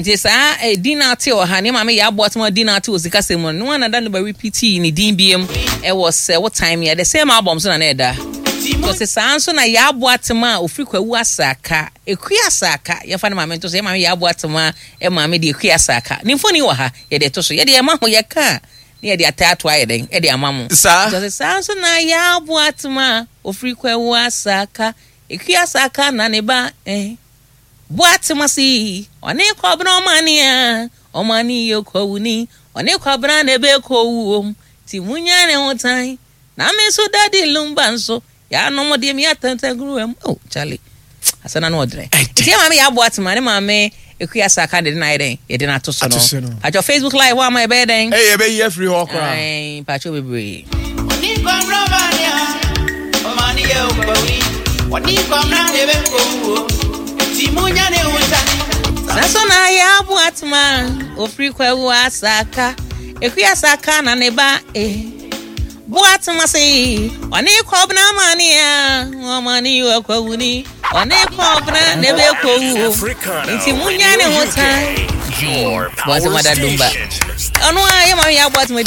Nti saa eh, din na ate wɔ ha ne maame yɛ aboa toma din na ate wɔ sikasɛm mu no na da no ba repeat ne din biem ɛwɔ sɛ wo time yɛ the same album so na na ɛda. Nti saa nso na yɛ aboa tema a ofiri kwawu asaka ekua asaka yɛfa ne maame nto so yɛ maame yɛ aboa tema maame de ekua asaka ne mfoni wɔ ha yɛde to so yɛde ɛma ho yɛka ne yɛde ataa ato ayɛ dɛn ɛde ama mo. Saa. Nti saa nso na yɛ aboa tema ofiri kwawu asaka ekua asaka na ne ba eh. Boatema si ɔne kɔbena ɔmane a ɔmane yɛ kɔwuni ɔne kɔbena na ebe kɔwuom ti munya ne ho tan na me nso Daddy Lumba nso yɛanom deɛ me atantaguruwa mu. Oh Charlie, asɛ na no ɔdrɛ. Nti yɛ maame yɛ aboatema ne maame Ekuya Saka de na ayɛ dɛn yɛde no ato so no. Patro Facebook live hɔ ama yɛbɛyɛ dɛn? Ɛyɛ yɛbɛyi afiri hɔ koraa. Ɛn patro bebree. Naso na yɛ aboatema ofiri kwawu asaka Ekuya Saka na ne ba eh. Boatema se ɔne kɔbena amane a ɔmane yɛ ɔkwawuni ɔne kɔbena na ebe kɔwu nti munya ne ho tan. Your power Boatema da dumba station. ɔno a yɛ maame yɛ aboatema.